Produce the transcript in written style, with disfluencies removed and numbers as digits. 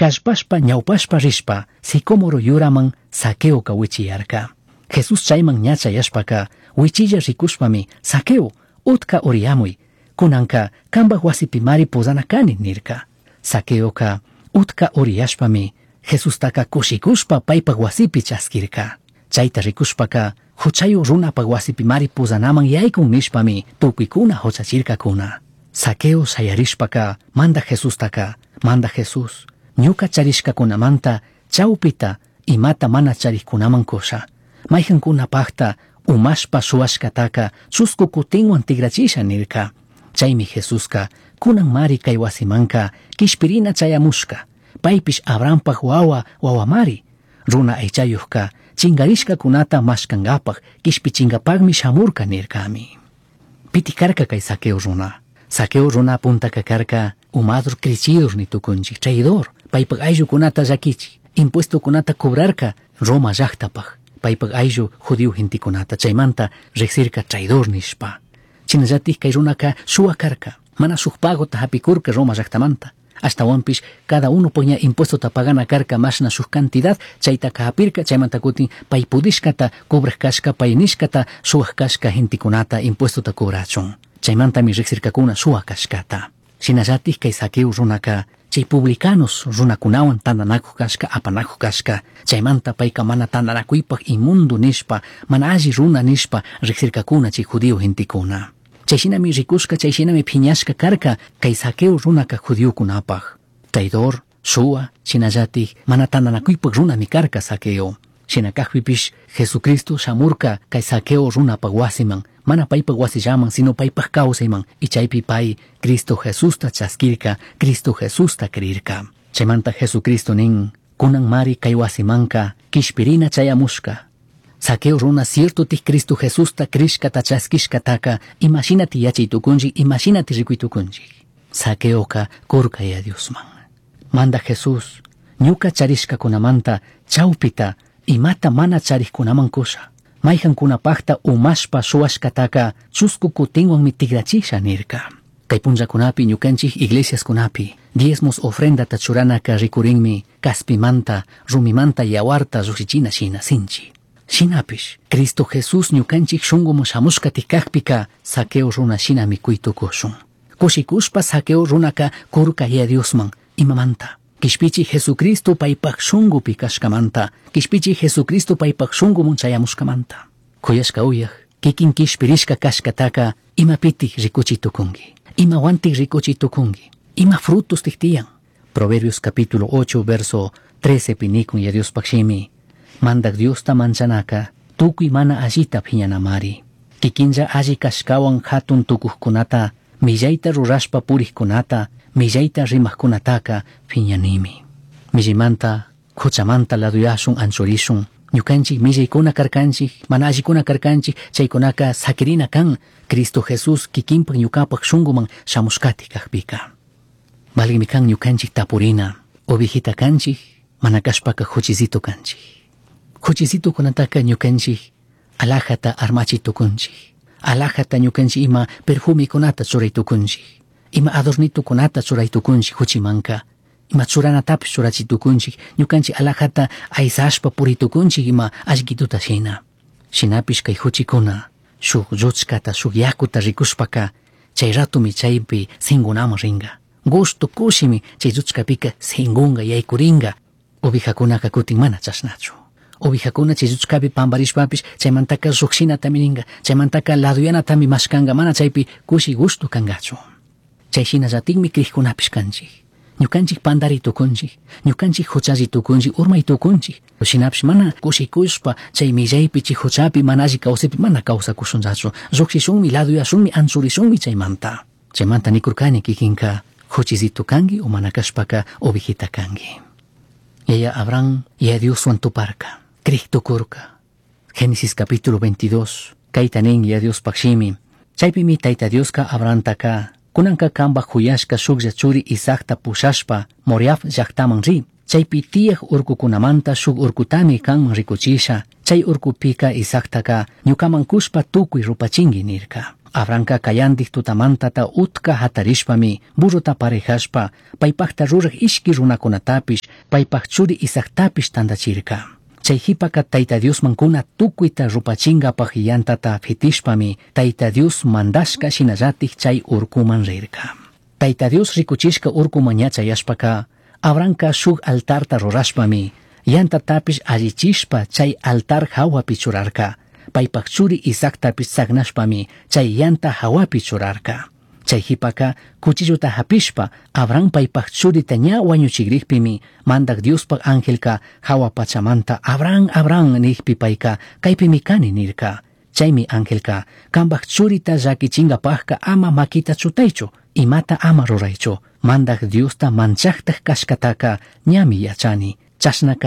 Callpashpa ñawpashpa rishpa sicómoro yuraman Zaqueoca huichiyarca. Jesús chayman ña chayashpaca huichilla ricushpami Zaqueo, utca uriyamuy, cunanca cambaj huasipimari pozana cani nirca. Zaqueoca utca uriyashpami Jesustaca cushicushpa paipaj huasipi chasquirca. Chaita ricushpaca juchayuj runapaj huasipimari pozanaman yaicun nishpami tucuicuna juchachircacuna. Zaqueo shayarishpaca Mandaj Jesustaca, Mandaj Jesús, ñuca charishcacunamanta chaupita imata mana charijcunaman cusha. Maijancunapajta umashpa shuhuashcataca chuscu cutinhuan tigrachisha nirca. Chaimi Jesusca cunanmari cai huasimanca quishpirina chayamushca. Paipish Abrahampaj huahua huahuamari. Runa aichayujca chingarishcacunata mashcangapaj quishpichingapajmi shamurca nircami. Piti carca cai Zaqueo runa. Zaqueo runa puntaca carca umador crichidor ni tucunchij, traidor, paipaj ayllucunata llaquichij, impuestocunata cobrarca Roma llajtapaj, paipaj ayllu judío gentecunata, chaimanta rijsirca traidor nishpa. Shinallataj cai runaca shuwa carca, mana shuj pagota japicurca Roma llajtamanta. Ashtahuanpish cada uno ña impuestota pagana carca mashna shuj cantidad, chaitaca japirca, chaimanta cutin pai pudishcata cobraj cashca, pai nishcata shuwaj cashca gentecunata impuestota cobrachun. Chaimantami rijsircacuna shuwa cashcata. Shinallataj cai Zaqueo runaca chay publicanos runacunahuan tandanacuj cashca, apanacuj cashca. Chaimanta paica mana tandanacuypaj inmundo nishpa, mana alli runa nishpa rijsircacuna chay judío gentecuna. Chay shinami ricushca, chay shinami piñashca carca cai Zaqueo runaca judiocunapaj. Traidor, shuwa, shinallataj mana tandanacuypaj runami carca Zaqueo. Shina cajpipish Jesucristo shamurca cai Zaqueo runapaj huasiman, mana paipaj huasillaman, sino paipaj causayman, y chaypi pai Cristo Jesusta chasquirca, Cristo Jesusta crirca. Chaymanta Jesucristo nin, cunanmari cai huasimanca quishpirina chayamushca. Zaqueo runa cierto tij Cristo Jesusta crishcata chasquishcataca imashinati yachay tucunchik, imashinati ricuy tucunchik. Zaqueoca curca ya Diosman. Manda Jesús, ñuca charishcacunamanta chaupita imata mana charijcunaman cusha. Maijancunapajta umashpa shuwashcataca chuscu cutinhuanmi tigrachisha nirca. Cai punllacunapi ñucanchij iglesiascunapi diezmos ofrendata churanaka ricurinmi caspimanta, rumimanta yahuarta llujshichina shina sinchi. Shinapish, Cristo Jesús ñucanchij shunguman shamushca cajpica Zaqueo runa shinami cui tucushun. Cushicushpa Zaqueo runaca curca ya Diosman imamanta. Quishpichi Jesucristo paipaj shungupi cashcamanta, quishpichi Jesucristo paipaj shunguman chayamushcamanta. Cuyashca uyaj, kikin quishpirishca cashcataca imapitij ricuchi tucungui. Imahuantij ricuchi tucungui. Ima frutos tiyan. Proverbios capítulo 8, verso 13 pinicun ya Diospaj shimi. Mandaj Diosta manchanaca, tucui mana allita piñanamari. Kikinlla alli cashcahuan jatun tucujcunata, millaita rurashpa purijcunata, millaita rimajcunataca piñanimi. Millimanta, juchamanta laduyashun anchurishun. Ñukanchik millaykuna karkanchik, mana allikuna karkanchik, chaykunaka saquirina kan, Cristo Jesús kikinpak ñukapak shunguman shamushkati kajpika. Valimi kan ñukanchik tapurina, ovejita kanchik, mana kashpaka juchizito kanchik. Juchizitukunataka ñukanchik alajata armachi tukunchik. Alajata ñukanchik ima perfumikunata churay tukunchik. Ima adornitukunata churay tukunchik juchimanka. Ima churanatapish churachi tukunchik. Ñukanchik alajata aysashpa puri tukunchik ima allquituta shina. Shinapish kay juchikuna shuk lluchkata shuk yakuta rikushpaka chay ratumi chaypi singunaman ringa. Gusto kushimi chay lluchkapika singunga yaykuringa. Ovejakunaka kutin mana chashnachu. Ovejakuna chay lluchkapi pambarishpapish chaymantaka llukshinatami ringa, chaymantaka laduyanatami mashkanga, mana chaypi kushi gusto kangachu. Chay shinallatikmi crijkunapish kanchik. Ñukanchik pandari tukunchik, ñukanchik huchalli tukunchik, urmay tukunchik. Shinapish mana kushikushpa chay millaypi, chay huchapi, mana alli kawsaypi mana kawsakushunllachu. Llukshishunmi, laduyashunmi, anchurishunmi chaymanta. Chaymanta nikurkani kikinka huchizito kanki o mana kashpaka ovejita kanki. Yaya Abraham, yaya Dioswan tuparka, crij tukurka. Génesis capítulo 22, kayta nin ya Diospaj shimi. Chaypimi Tayta Dioska Abrahamtaka, kunanka kambaj juyashka shuklla churi Isaacta pushashpa Moriah llajtaman ri. Chaypi tiyaj urkukunamanta shuk urkutami kanman rikuchisha. Chay urkupika Isaactaka ñukaman kushpa tukuy rupachinki nirka. Abrahamca cayandij tutamantata utca jatarishpami burrota parejashpa paipajta ruraj ishqui runacunatapish paipaj churi Isaactapish tandachirca. Chai jipaca Taita Diosman cuna tucuita rupachingapaj yantata fitishpami Taita Dios mandashca shinallataj chai urcuman rirca. Taita Dios ricuchishca urcuman ña chayashpaca Abrahamca shuj altarta rurashpami yantatapish allichishpa chai altar jahuapi churarca. Paipaj churi Isaactapish tsagnashpami chai yanta jahuapi churarca. Chai jipaca cuchillota japishpa Abraham paipaj churita ña huañuchigrijpimi Mandaj Diospaj angelca jahua pachamanta Abraham, Abraham nijpi paica caipimi cani nirca. Chaimi angelca cambaj churita llaquichingapajca ama maquita chutaichu, imata ama ruraichu. Mandaj Diosta manchajtaj cashcataca ñami yachani. Chashnaca.